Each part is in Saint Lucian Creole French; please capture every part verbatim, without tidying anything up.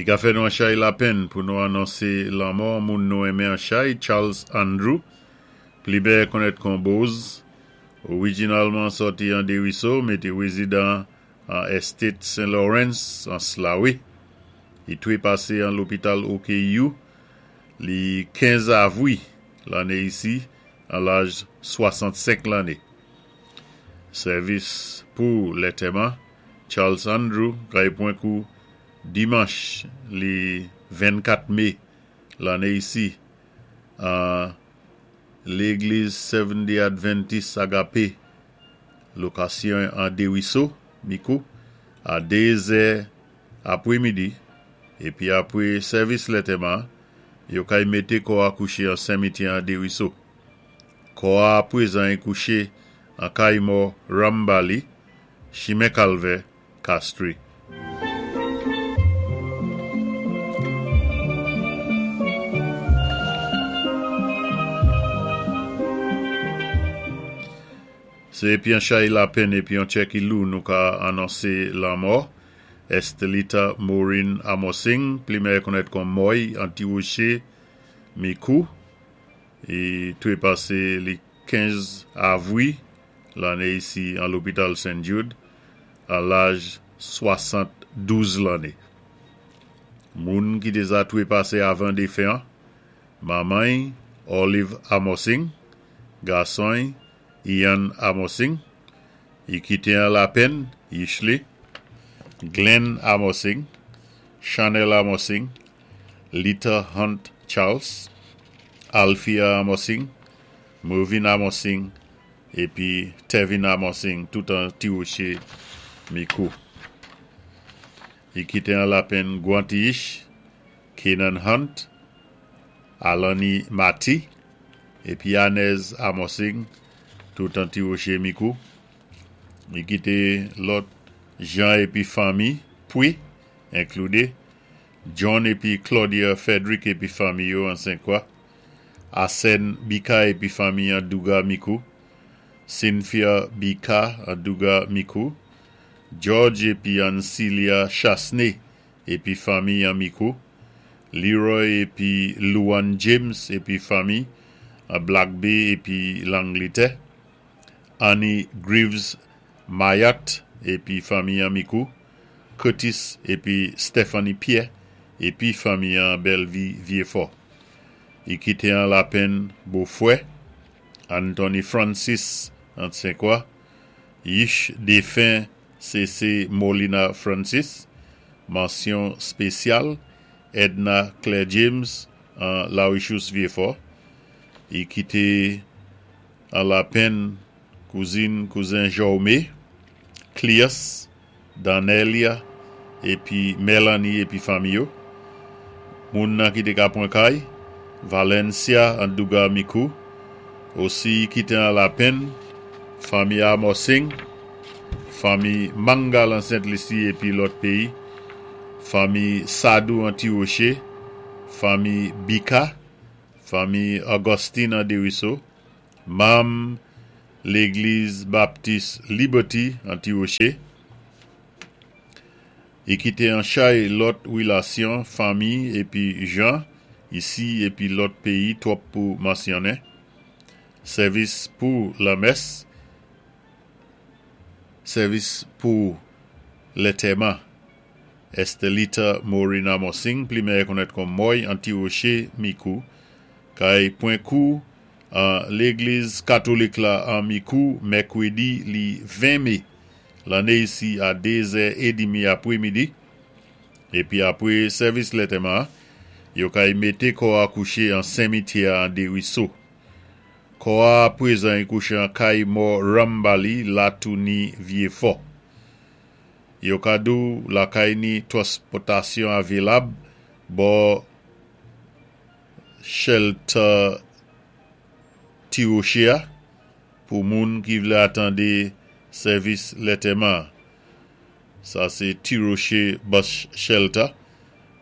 I ka fè nou an chay lapenn pou nou anonsé lanmò moun nou enmen an chay, Charles Andrew, pli byen konnèt kon Boz, orijinalman sòti an Desruisseaux, mé té wézidan an Estate Saint Lawrence, an Slawe. I twépasé an lopital O K U, li kenz avwi lanné isi, an laj swasannsenk lanné. Sèvis pou lantèman Charles Andrew kay pwan kou dimanch li vennkat mé lanné isi an légliz Seventh Day Adventist Agape, lokasyon an Desruisseaux, Micoud, a dé zè apwémidi, épi apwé sèvis lantèman, yo kay mété kò a kouché an simityè an Desruisseaux. Kò a apwézan i kouché an kay mò Rambali, chimen Kalvè, Castries. Sé épi an chay lapenn épi an tchè ki lou nou ka anonsé lanmò Estelita Maureen Amosing, pli mèyè konnèt kon Moy, an Ti Woché, Micoud. I twépasé li kenz avwi lanné isi an lopital Saint Jude a laj swasanndouz lanné. Moun ki déza twépasé avan défen an, manman Olive Amosing, gason Ian Amosing, i kité an lapenn, Yishley, Glenn Amosing, Chanel Amosing, Lita Hunt Charles, Althea Amosing, Mervin Amosing, épi Tevin Amosing, tout an Ti Woché, Micoud. I kité an lapenn Guantish, Kenan Hunt, Alani Mati, épi Anez Amosing, tout an Ti Woché, Micoud. I kité lòt jan épi fanmi, pwi, enkloudé, John épi Claudia Frederick épi fanmi yo an Sainte-Croix, Arsène Bika épi fanmi an Douga, Micoud, Cynthia Bika an Douga, Micoud, George épi Ancilia Chasney épi fanmi an Micoud, Leroy épi Luan James épi fanmi an Black Bay épi Langletè, Annie Greaves Mayat épi fanmi an Micoud, Curtis épi Stephanie Pierre épi fanmi an Bellevue Vieux-Fort. I kité an lapenn bofwè, Anthony Francis an Sainte-Croix, Yish défen C C Molina Francis, mansyon spésyal, Edna Claire James an Larichous Vieux-Fort. I kité an lapenn kouzin, kouzen Jaume, Clias, Danelia, épi Melanie épi fanmi yo. Moun nan ki té ka pwan kay, Valencia an Douga, Micoud. Osi kité an lapenn, fanmi Amosing, fanmi Mangal an Sainte-Lucie épi lòt péyi, fanmi Sadou an Ti Woché, fanmi Bika, fanmi Augustine an Desruisseaux, manm légliz Baptiste Liberty an Ti Woché. I kité an chay lòt wilasyon, fanmi épi jan, isi épi lòt péyi twòp pou mansyonnen. Sèvis pou lamès, sèvis pou lantèman. Estelita Maureen Amosing, pli mèyè konnèt kon Moy an Ti Woché, Micoud, kay pwan kou an légliz katolik la an Micoud, mèkwédi li ven mé, lanné isi a dé zè édmi apwémidi, épi apwé sèvis lantèman, yo kay mété kò a kouché an simityè an Desruisseaux. Kò a apwézan i kouché an kay mò Rambali, Latouni Vieux-Fort. Yo ka di ou lakay ni twanspòtasyon avilab bò shelter Ti Woché a pou moun ki vlé atandé sèvis lantèman. Sa sé Ti Woché Bus Shelter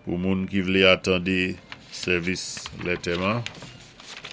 pou moun ki vlé atandé sèvis lantèman.